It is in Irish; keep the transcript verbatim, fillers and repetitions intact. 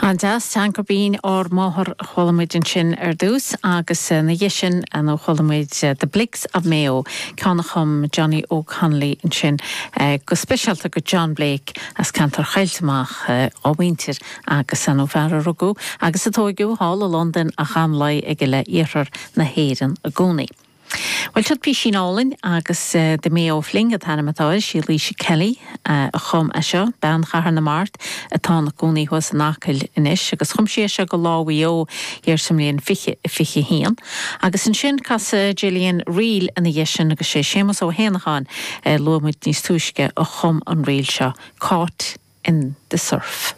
An-deas Teanga Binn ár Máthair a chuala muid ansin ar dtús agus ina dhiaidh sin nó chuala muid The Blakes of Mayo ceann a chum Johnny O'Connolly ansin go speisialta go John Blake as ceantar Choillte Mach ó mhuintir agus an fear a rugadh agus a tógadh thall i Londain ach an-luí aige le iarthar na hÉireann i gcónaí. Well siod písín álainn agus uh, The Mayo Fling an t-ainm atá air sí Laoise Kelly uh, a chum é seo bean Chathair na Mart atá ina cónaí thuas in Acaill anois agus chum sí seo go Lá Mhaigh Eo thiar sa mbliain fiche fiche haon. Agus ansin casadh Gillian ríl ina dhiaidh sin agus sé Séamus Ó hÉanacháin uh, luaigh muid níos túisce a chum an ríl seo Caught in the Surf.